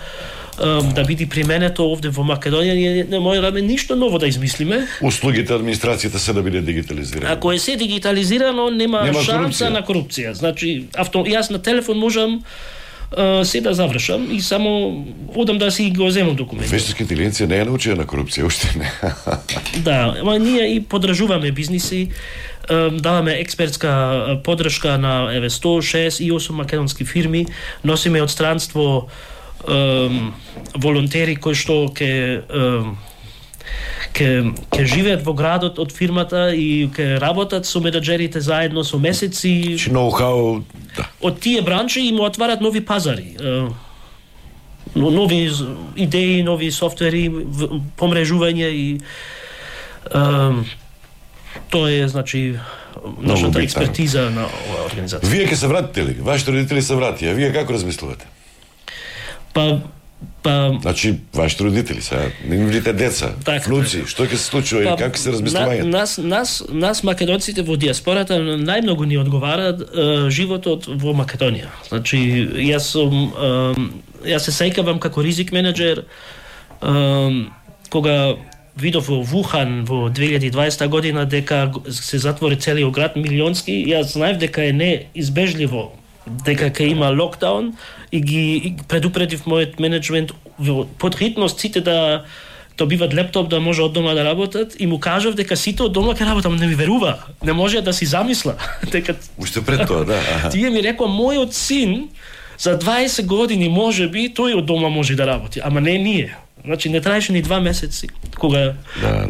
K: да биде применето овде во Македонија, ние не можеме ништо ново да измислиме.
B: Услугите администрацијата се да биде дигитализирано.
K: Ако е се дигитализирано, нема шанса на корупција. Значи, јас на телефон можам се да завршам и само одам да си го земам документи.
B: Вештачка интелигенција не е научена на корупција, уште не.
K: Да, ама ние и подржуваме бизниси, даваме експертска поддршка на 168 македонски фирми, носиме од странство волонтери кои што ќе живеат во градот од фирмата и ќе работат со менаџерите заедно со месеци.
B: Ноу-хау, да.
K: Од тие бранши им отварат нови пазари. Нови идеи, нови софтвери, помрежување и тоа е, значи, нашата експертиза на оваа организација.
B: Вие ќе се вратите ли? Вашите родители се вратија. Вие како размислувате? Значи, вашите родители сега, нивните деца, внуци, што ќе се случува или како се размислувањето?
K: Нас македонците во диаспората најмногу ни одговара животот во Македонија. Значи, јас се сеќавам како ризик менеджер кога видов во Вухан во 2020 година дека се затвори целиот град милионски, јас знаев дека е неизбежливо дека ќе има локдаун и ги предупредив мојот менеджмент под хитност сите да добиват лептоп да може од дома да работат и му кажав дека сите од дома ќе работат, не ми верува, не може да си замисла дека
B: уште пред тоа, да.
K: Тие ми рекоа мојот син за 20 години можеби тој од дома може да работи, ама не ние. Значи не траеше ни 2 месеци кога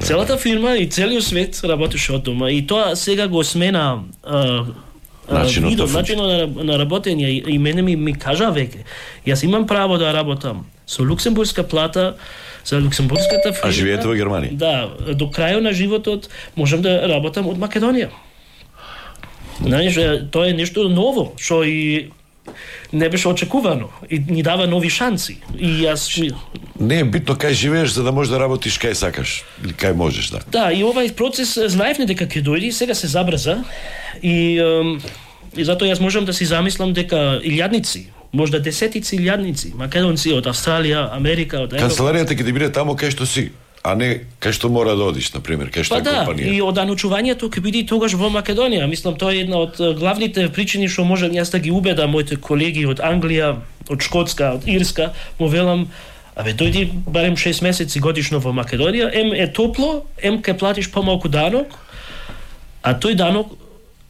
K: целата фирма и целиот свет работеше од дома и тоа сега го смена начинот на работење и мене ми кажа веќе јас имам право да работам со луксембургска плата за луксембургската фирма.
B: А живеете во Германија?
K: Да, до крајот на животот можам да работам од Македонија. Знаеш, тоа е нешто ново што и не беше очекувано и ни дава нови шанси. И јас
B: не е битно кај живееш за да можеш да работиш кај сакаш или кај можеш, да.
K: Да, и овај процес знаевме дека ќе дојде, сега се забрза и затоа јас можам да си замислам дека илјадници, можда десетици илјадници македонци од Австралија, Америка, од Европа.
B: Канцеларијата ќе ти биде таму кај што си, а не кај што мора да одиш, на пример, кај што е компанија.
K: И оданучувањето ќе биде тогаш во Македонија. Мислам тоа е една од главните причини што можам јас да ги убедам моите колеги од Англија, од Шкотска, од Ирска, му велам дојди барем 6 месеци годишно во Македонија, е топло, ќе платиш помалку данок, а тој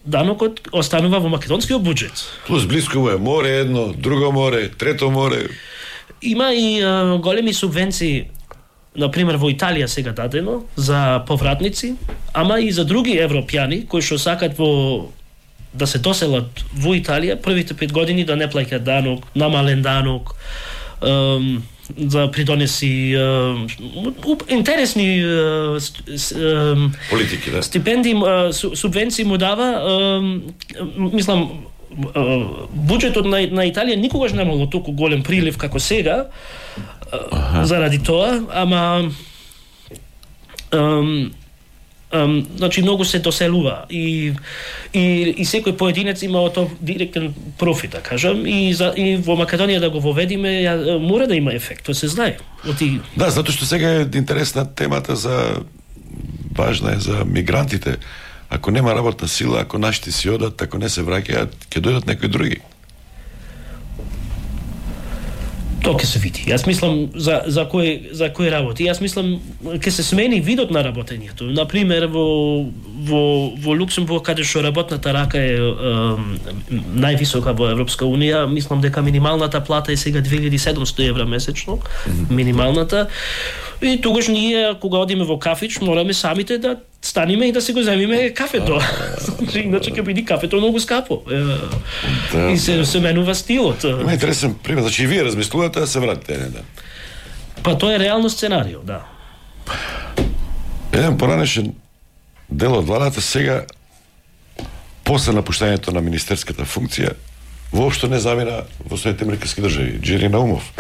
K: данокот останува во македонскиот буџет.
B: Плюс блиско е море едно, друго море, трето море.
K: Има и големи субвенции, например во Италија сега дадено за повратници, ама и за други европјани кои што сакат да се доселат во Италија првите 5 години да не плаќаат данок, намален данок, да придонеси интересни
B: политики, да.
K: Стипендии, субвенции му дава, мислам, буџетот на Италија никогаш немало толку голем прилив како сега, заради тоа, ама значи многу се доселува и секој поединец има од тоа директен профит, да кажам, и во Македонија да го воведиме мора да има ефект, тоа се знае.
B: Да, затоа што сега е интересна темата важна е за мигрантите. Ако нема работна сила, ако нашите си одат, ако не се враќаат, ќе дојдат некои други.
K: Тоа ќе се види. Јас мислам за кој работи. Јас мислам ќе се смени видот на работењето. Например во Луксембург каде што работната рака е највисока во Европска унија, мислам дека минималната плата е сега 2700 евра месечно, минималната. И тогаш ние кога одиме во кафич мораме самите да станеме и да се го земиме кафето. Иначе ќе биде кафето многу скапо. И се менува стилот.
B: Ма интересен пример, значи и вие размислувате да се вратите еден ден.
K: Па тоа е реално сценарио, да.
B: Еден поранешен дел од владата сега после напуштањето на министерската функција воопшто не замина во Соединетите американски држави. Џери Наумов.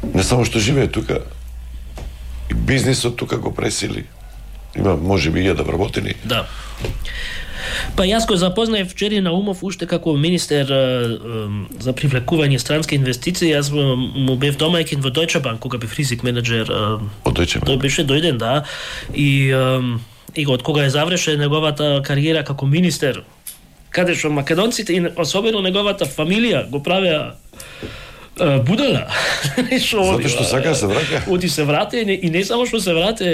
B: Не само што живее тука, и бизнисот тука го пресили. Има можеби 1000 вработени.
K: Да. Па јас го запознаев Џери Наумов уште како министер за привлекување странски инвестиции. Јас му бев домаќин во Deutsche Bank кога бев ризик менеджер.
B: Од Deutsche Bank.
K: Тој беше дојден, да. И од кога е завршен неговата кариера како министер каде што македонците и особено неговата фамилија го правеа будала.
B: Затоа што сака се враќа.
K: Оди се врате и не само што се врате,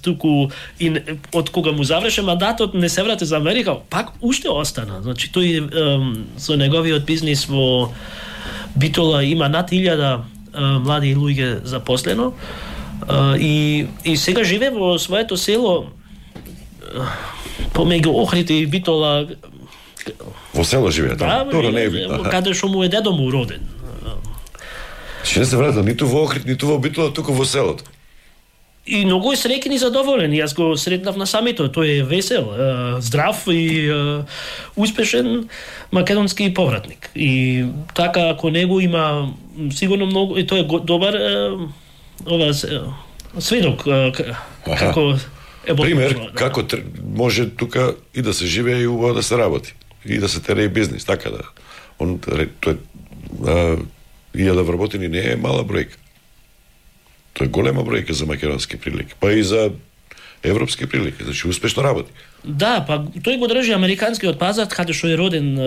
K: туку и од кога му заврши мандатот не се врате за Америка, пак уште остана. Значи тој со неговиот бизнис во Битола има над 1000 млади луѓе запослено и сега живе во своето село помеѓу Охрид и Битола.
B: Во село живее таму.
K: Добро, не е каде што му е дедо му роден.
B: Ще не се вратил ниту во Охрид, ниту во Битола, туку во селото.
K: И многу е среќен и задоволен. Јас го сретнав на самито. Тој е весел, здрав и успешен македонски повратник. И така, ако него има сигурно многу, и тој е добар сведок како е
B: пример како може тука и да се живее и убаво да се работи и да се тере и бизнис, така да. Тој 1000 вработени не е мала бројка. Тоа е голема бројка за македонски прилики, па и за европски прилики, значи успешно работи.
K: Да, па тој го држи американскиот пазар, каде што е роден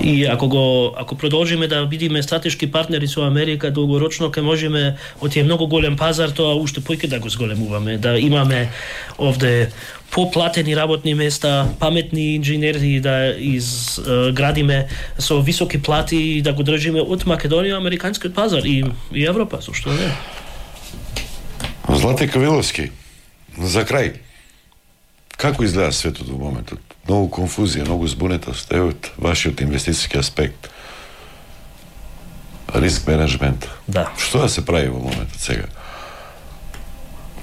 K: и ако продолжиме да бидеме стратешки партнери со Америка долгорочно, ќе можеме од тие многу голем пазар тоа уште поќе да го зголемуваме, да имаме овде поплатени работни места, паметни инженери да изградиме со високи плати и да го држиме од Македонија американскиот пазар и Европа, зашто не?
B: Злате Кавиловски, за крај, како изгледа светот во моментот? Многу конфузија, многу збунетост, од вашиот инвестицијски аспект. Риск менеджмент.
K: Да.
B: Што да се прави во моментот сега?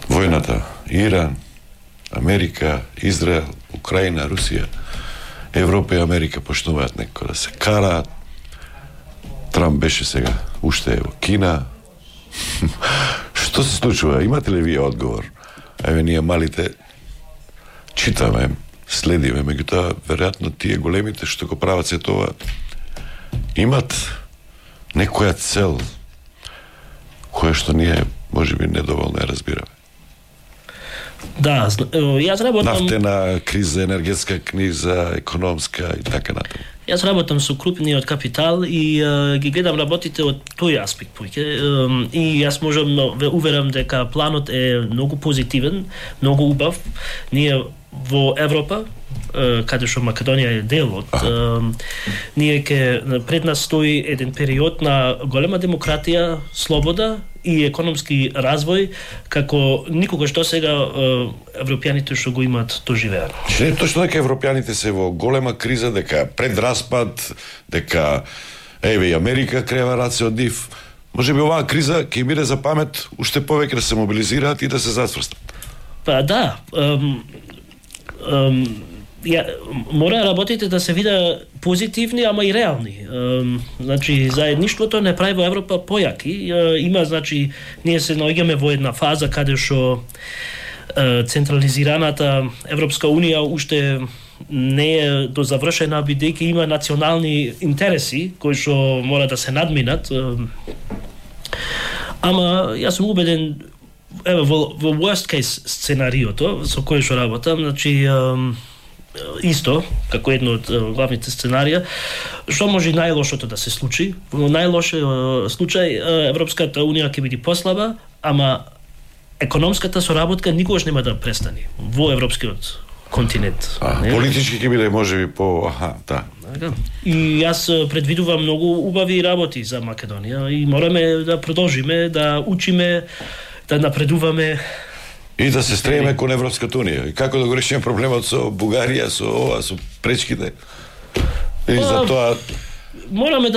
B: Војната, Иран, Америка, Израел, Украина, Русија, Европа и Америка почнуваат некако да се караат. Трамп беше сега, уште е во Кина. Што се случува? Имате ли вие одговор? Еве ние малите читаме, следиме, меѓутоа веројатно тие големите што го прават се тоа имат некоја цел која што ние можеби недоволно ја разбираме.
K: Да, јас работам...
B: Нафтена криза, енергетска криза, економска и така натаму.
K: Јас работам со крупниот капитал и ги гледам работите од тој аспект поќе. И јас можам ве уверам дека планот е многу позитивен, многу убав. Ние во Европа, каде што Македонија е дел од, ние пред нас стои еден период на голема демократија, слобода и економски развој, како никогаш до сега европјаните што го имаат доживеано.
B: Не е точно дека европјаните се во голема криза, дека пред распад, дека еве и Америка крева раце од нив. Можеби оваа криза ќе им биде за памет уште повеќе да се мобилизираат и да се затврстат.
K: Па да, мора работите да се вида позитивни, ама и реални. Значи, заедништвото не прави во Европа појаки. Има, значи, ние се наоѓаме во една фаза каде што централизираната Европска Унија уште не е до завршена, бидејќи има национални интереси кои што мора да се надминат. Ама јас сум убеден, еве во worst case сценариото со кој што работам, значи исто, како едно од главните сценарија, што може најлошото да се случи. Во најлошиот случај Европската Унија ќе биде послаба, ама економската соработка никогаш нема да престане во европскиот континент.
B: Политички ќе биде можеби да.
K: И јас предвидувам многу убави работи за Македонија и мораме да продолжиме да учиме, да напредуваме
B: и да се стремиме кон Европската Унија. И како да го решиме проблемот со Бугарија, со ова, со пречките? И за тоа
K: мораме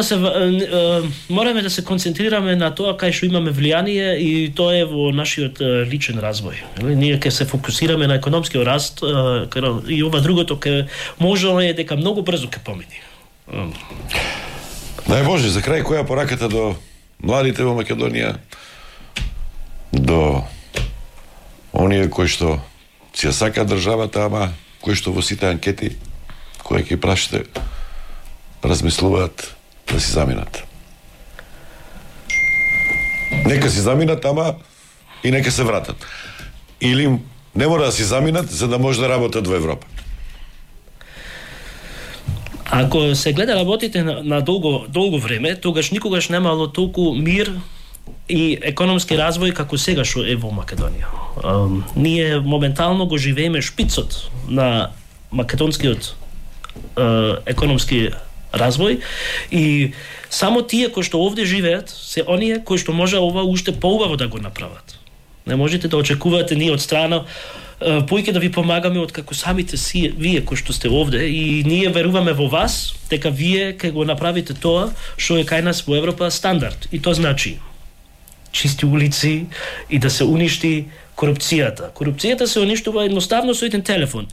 K: да се концентрираме на тоа кај што имаме влијание и тоа е во нашиот личен развој. Ние ќе се фокусираме на економскиот раст и ова другото можело е дека многу брзо ќе помине.
B: Дај Боже, за крај која пораката до младите во Македонија, до оние кои што си ја сака државата, ама кои што во сите анкети кои ќе прашате размислуваат да си заминат. Нека си заминат, ама и нека се вратат. Или не мора да си заминат за да може да работат во Европа.
K: Ако се гледа работите на долго време, тогаш никогаш немало толку мир и економски развој како сега што е во Македонија. Ние моментално го живееме шпицот на македонскиот економски развој и само тие кои што овде живеат се оние кои што може ова уште поубаво да го направат. Не можете да очекувате ние од страна поиќе да ви помагаме од како самите вие кои што сте овде и ние веруваме во вас дека вие ќе го направите тоа што е кај нас во Европа стандард и тоа значи чисти улици и да се уништи корупцијата. Корупцијата се уништува едноставно со еден телефон.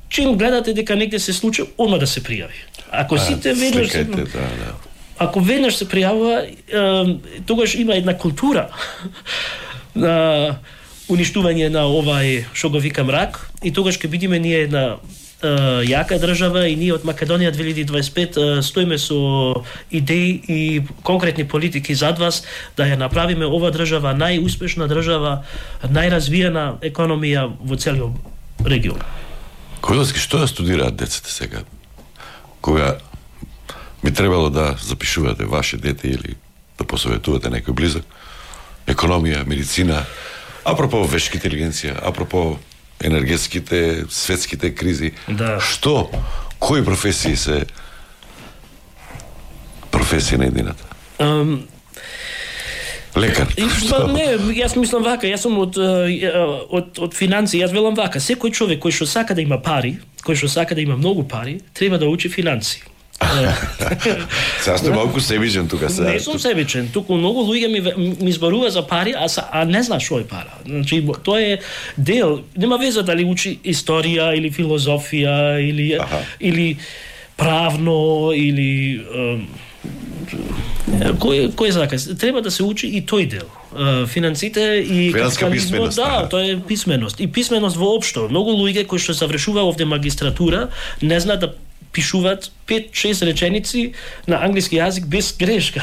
K: Чим гледате дека негде се случи, одма да се пријави. Ако сите веднаш ако веднаш се пријавува, тогаш има една култура на уништување на овај што го вика мрак и тогаш ќе бидиме ние една јака држава и ние од Македонија 2025 стоиме со идеи и конкретни политики зад вас да ја направиме ова држава најуспешна држава, најразвиена економија во целиот регион.
B: Којловски, што да студираат децата сега? Кога би требало да запишувате ваше дете или да посоветувате некој близок? Економија, медицина, апропо вешка интелигенција, апропо енергетските, светските кризи.
K: Да.
B: Што? Кои професии се професија на едината? Лекар.
K: Не, јас мислам вака, јас сум од финанси, јас велам вака, секој човек кој што сака да има пари, кој што сака да има многу пари, треба да учи финанси.
B: Сега сте малку себичен тука сега.
K: Не сум себичен, туку многу луѓе ми зборува за пари, а не знаат што е пара. Значи тоа е дел, нема веза дали учи историја или филозофија или правно или кој сака, треба да се учи и тој дел. Финансите и капитализмот, да, тоа е писменост. И писменост воопшто. Многу луѓе кои што завршува овде магистратура не знаат да пишуваат 5-6 реченици на англиски јазик без грешка.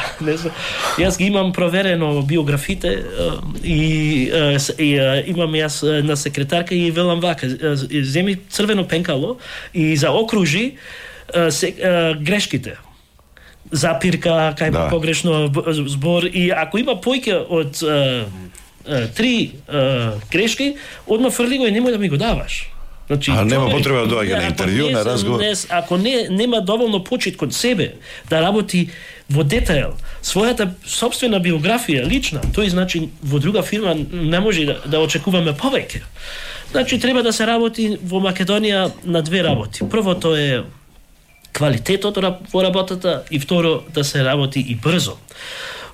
K: Јас ги имам проверено биографите и имам јас на секретарка и велам вака, земи црвено пенкало и заокружи грешките. Запирка, кај погрешно збор и ако има поиќе од 3 грешки, одма фрли го и немој да ми го даваш. Значи,
B: нема потреба да доаѓа на интервју, на разговор.
K: Ако нема доволно почит кон себе да работи во детайл својата сопствена биографија лична, тој значи во друга фирма не може да очекуваме повеќе. Значи треба да се работи во Македонија на две работи. Првото е квалитетот во работата и второ да се работи и брзо.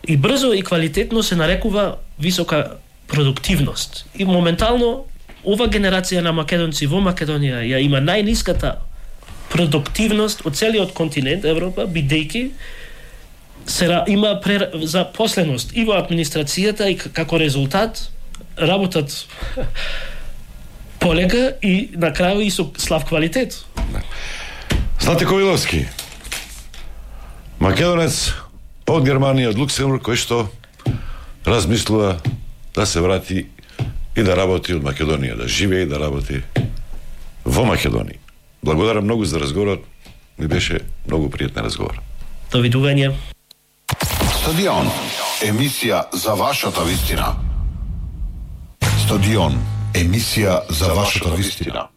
K: И брзо и квалитетно се нарекува висока продуктивност. И моментално ова генерација на македонци во Македонија ја има најниската продуктивност од целиот континент Европа, бидејќи има запосленост и во администрацијата и како резултат работат полека и на крају и со слаб квалитет.
B: Злате Ковиловски, македонец од Германија, од Луксембург, кој што размислува да се врати и да работи од Македонија, да живее и да работи во Македонија. Благодарам многу за разговорот, ми беше многу пријатен разговор.
K: Довидување.
C: Стадион, емисија за вашата вистина. Стадион, емисија за вашата вистина.